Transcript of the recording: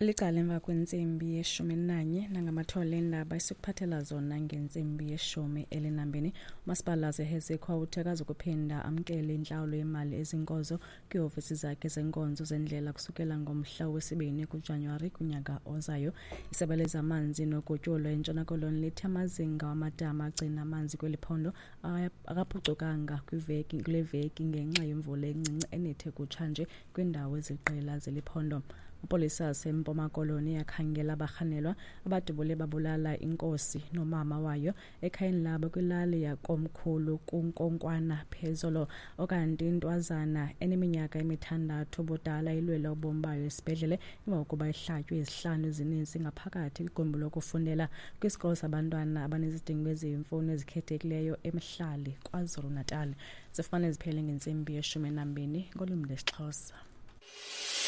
Licala emva kwentsimbi yeshumi elinanye nangamathole eendaba esikuphathela zona ngentsimbi yeshumi elinambini. Umasipala waseHessequa uthe akazukuphinda amkele intlawulo yemali ezinkozo kwiiofisi zakhe zenkonzo zendlela kusukela ngomhla wesibini kuJanuwari kunyaka ozayo. Isebe lezamanzi nogutyulo eNtshona Koloni lithi amazinga wamadama agcina amanzi kweli phondo akaphucukanga kwiveki kule veki ngenxa yemvula encinci enethe kutshanje kwiindawo eziliqela zeli phondo. Amapolisa aseMpuma Koloni akhangela abarhanelwa abadubule babulala inkosi nomama wayo ekhayeni labo kwilali yakomkhulu kuNkonkwana phezolo. Okanti intwazana eneminyaka emithandathu ubudala ilwela ubomi bayo esibhedlele emva kokuba ihlatywe izihlanu ezininzi ngaphakathi kwigumbi lokufundela kwisikolo sabantwana abanezidingo eziyimfuno ezikhethekileyo eMhlali, KwaZulu-Natal. Zifumane ziphele ngentsimbi yeshumi enambini ngolwimi lwesiXhosa.